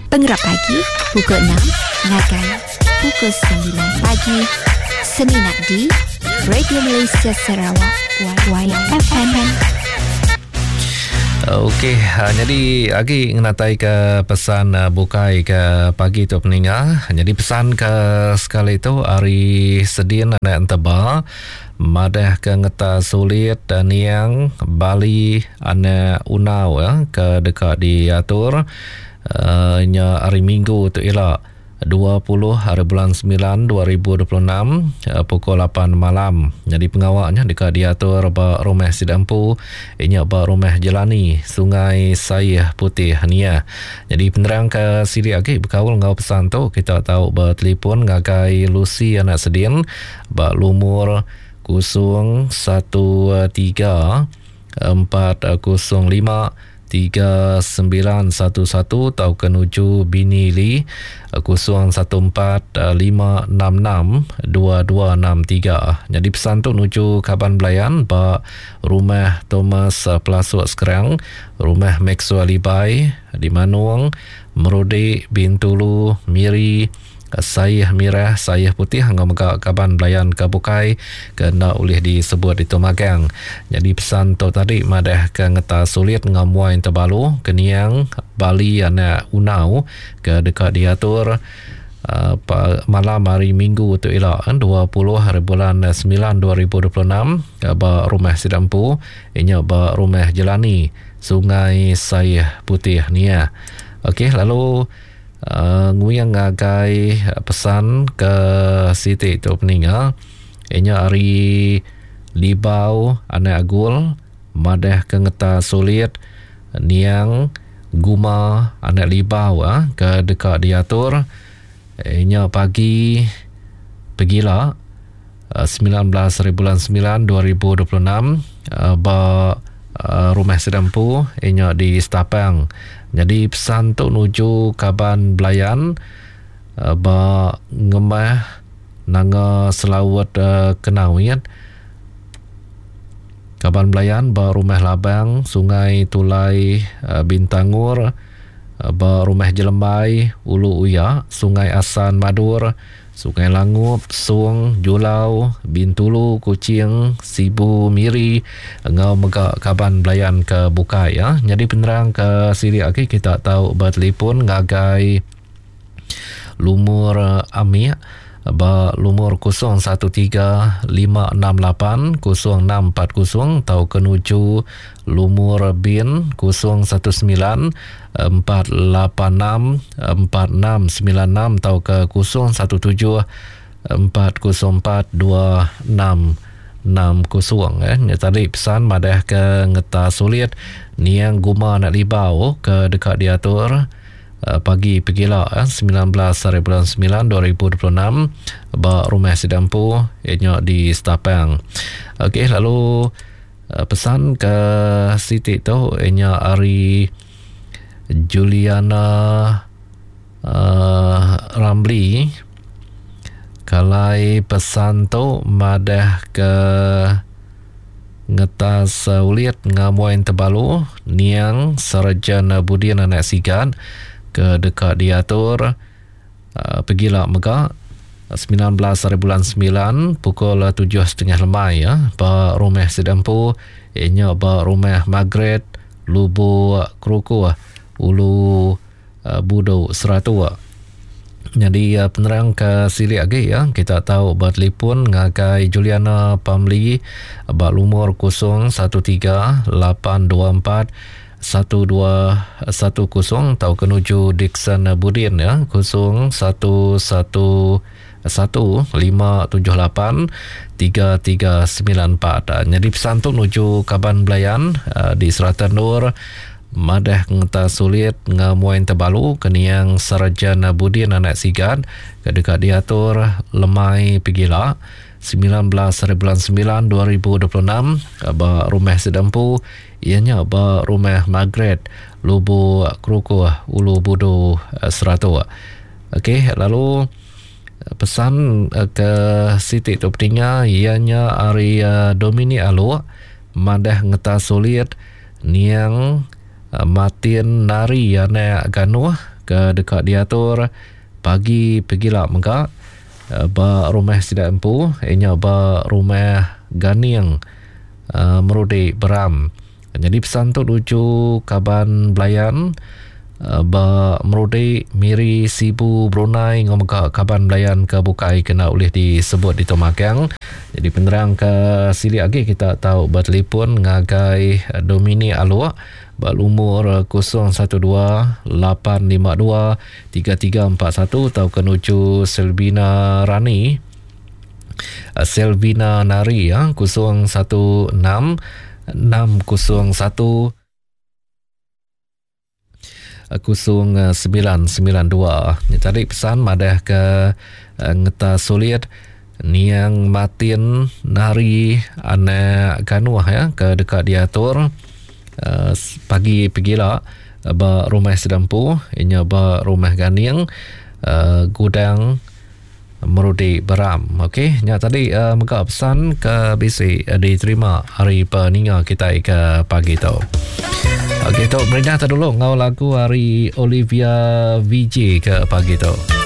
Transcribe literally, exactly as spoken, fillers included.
Pengerap pagi pukul enam ngagai pukul sembilan pagi semina di Radio Malaysia Sarawak Y F M. Okey, jadi agi ngenatai ke pesan bukai ke pagi tu peninga. Jadi pesan ke sekali tu hari Sedin anak Enteba madah ke ngeta sulit niang Bali anak Unau ya, ke dekat diatur uh, nya hari Minggu tu ila dua puluh hari bulan sembilan dua ribu dua puluh enam pukul lapan malam. Jadi pengawaknya dekat diatur ba rumah Sidampu, inya ba rumah Jelani, Sungai Sayeh Putih Nia. Jadi penerang ke sili agi berkaul ngau pesan tu kita tahu bertelefon ngagai Lucy anak Sedin ba lumur kosong satu tiga empat kosong lima tiga sembilan satu satu atau ke nuju Bini Lee kosong satu empat lima enam enam dua dua enam tiga. Jadi pesan tu nuju kaban belayan ba rumah Thomas Pelasuk Sekerang, rumah Maxwell Libai di Manung, Merudi, Bintulu, Miri, Sayeh Mirah, Sayeh Putih ngau mega kaban belayan ke bukai ke ndak boleh disebut di Tumagang. Jadi pesan tu tadi madah ke ngeta sulit ngau muai terbalu keniang Bali anak Unau ke dekat diatur uh, malam hari Minggu tu ila dua puluh hari bulan sembilan dua ribu dua puluh enam ba rumah Sidampu, inya ba rumah Jelani, Sungai Sayeh Putih Nia. Okey, lalu Uh, nguyang ngagai pesan ke Siti tu peninga inya hari Libau anak Agul madah ke ngeta sulit niang Guma anak Libau ah, ke dekat diatur inya pagi pegila sembilan belas hari bulan sembilan dua ribu dua puluh enam ba rumah Sidampu inya di Setapang. Jadi pesan tu nuju kaban belayan ba ngemah nanga selawat Kenawit. Kaban belayan ba rumah Labang Sungai Tulai Bintangur, ba rumah Jelembai Ulu Uya, Sungai Asan Madur, Sungai Langup, Sung, Julau, Bintulu, Kuching, Sibu, Miri ngau mega kaban belayan ke bukai ya. Jadi penerang ke siri agi kita tahu bertelefon ngagai lumur Amik ba lumur kosong satu tiga lima enam lapan kosong enam empat kosong atau ke nuju lumur Bin kosong satu sembilan empat lapan enam empat enam sembilan enam atau ke kosong satu tujuh empat kosong empat dua enam enam kosong. Eh. Ni tadi pesan madah ke ngeta sulit niang Guma anak Libau ke dekat diatur pagi pegila sembilan belas hari bulan sembilan dua ribu dua puluh enam ba rumah Sidampu ianya di Setapang. Okey, lalu pesan ke Siti tu ianya hari Juliana uh, Ramli. Kalai pesan tu madah ke ngetas ulit ngamuin terbalu niang Sarjan Budin anak Sigan ke dekat diatur uh, pegila mega sembilan belas hari bulan sembilan pukul tujuh setengah lemai ya ba rumah Sidampu ianya ba rumah Margaret Lubu Keruku Ulu uh, Budu Seratua. Jadi uh, penerang ke silik lagi ya kita tahu bertelefon ngagai Juliana Pamli ba lumur kosong satu tiga lapan dua empat satu dua satu kosong atau kenuju Dixon Budin ya kosong satu satu satu lima tujuh lapan tiga tiga sembilan empat. Jadi pesan tu nuju kaban belayan uh, di Selatan Nur madah ngeta sulit ngamuin terbalu keniang Sarjan Budin anak Sigan ke dekat diatur lemai pegila sembilan belas hari bulan sembilan dua ribu dua puluh enam ba rumah Sidampu ianya ba rumah Margaret Lubu Keruku Ulu Budu Seratua. Okey, lalu pesan ke Siti tu peninga ianya hari Dominic Aluk madah ngeta sulit niang Martin Nari anak Ganuh ke dekat diatur pagi pegila mega ba rumah sida empu inya ba rumah Ganing uh, Merudi Beram. Jadi pesan tu lucu kaban belayan uh, ba Merudi Miri Sibu Brunei ngomega kaban belayan ke bukai kena ulih disebut di Tomakang. Jadi penerang ke sili lagi kita tahu bertelefon ngagai Domini Aluk berumur kosong satu dua lapan lima dua tiga tiga empat satu atau ke nuju Selvina Rani Selvina Nari ya kosong satu enam enam kosong satu kosong sembilan sembilan dua. Ni tadi pesan madah ke ngeta sulit niang Martin Nari anak Ganuh ya ke dekat diatur uh, pagi pegila ba rumah Sedampu inya ba rumah Ganing uh, gudang Merudi Beram. Okey, nya tadi uh, mega pesan ke bisi uh, diterima hari peninga kita ke pagi tu. Okey, tu merindah dulu ngau lagu hari Olivia V J ke pagi tu.